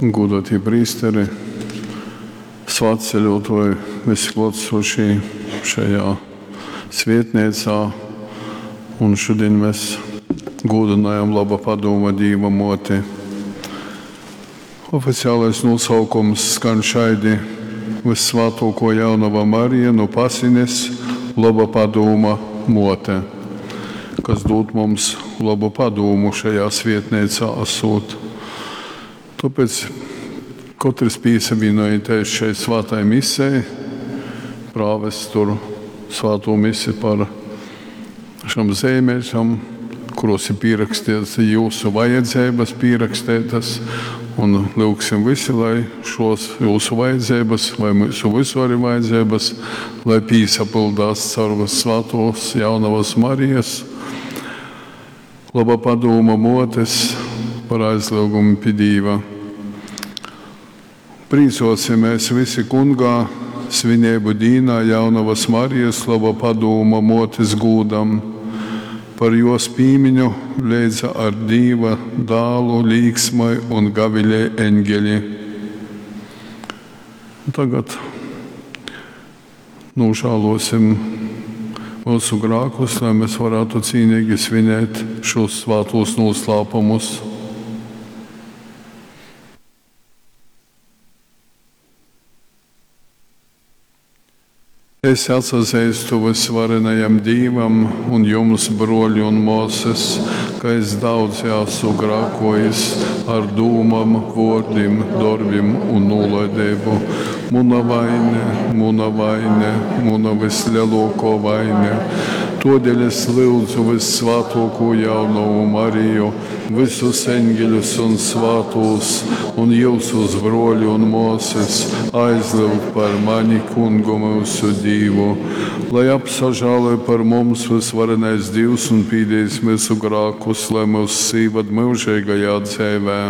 Gūdōtī prīsteri, svātceļōtōji, visi klōtsošī šajā svietneicā. Un šodien mēs gūdynojam laba padūma Dīva mōti. Oficiālais nosaukums skan šaidi: Vissvātōkō Jaunava Marija nu Pasines, laba padūma mōte, kas dūd mums labu padūmu šajā svietneicā asūt. Tāpēc katrs pīsavienojoties šai svātai misei, prāvests tur svāto misi par šam zeimēšam, kuros ir pierakstīts jūsu vajadzības pierakstītas, un lūgsim visi, lai šos jūsu vajadzības, vai mūsu visu arī vajadzības, lai pīsapildās caur svātos jaunavas Marijas, laba padūma motes par aizlūgumu pie Dīva. Prīcosimies visi kungā svinību dīnā jaunavas Marijas laba padūma motes gūdam, par jos pīmiņu leidza ar Dīva dālu līksmai un gavilē eņģeļi. Tagad nožēlosim mūsu grākus, lai mēs varētu cīnīgi svinēt šos svātos noslēpumus. Es atsazīstu visvarenajam Dīvam un jums, broļi un māsas, ka es daudz esmu grākojis ar dūmām, vārdiem, darbiem un nolaidību. Muna vaine, muna vaine, muna vislielākā vaine. Todēļ es lūdzu vissvātāko jaunavu Mariju, visus eņģeļus un svātos, un jūsus broļi un māsas aizlūgt par mani kungu mūsu Dīvu, lai apsažāloj par mums visvarenais Dievs un pīdīs mūsu grākus, lai mūs sīvad mūžīgajā dzīvē.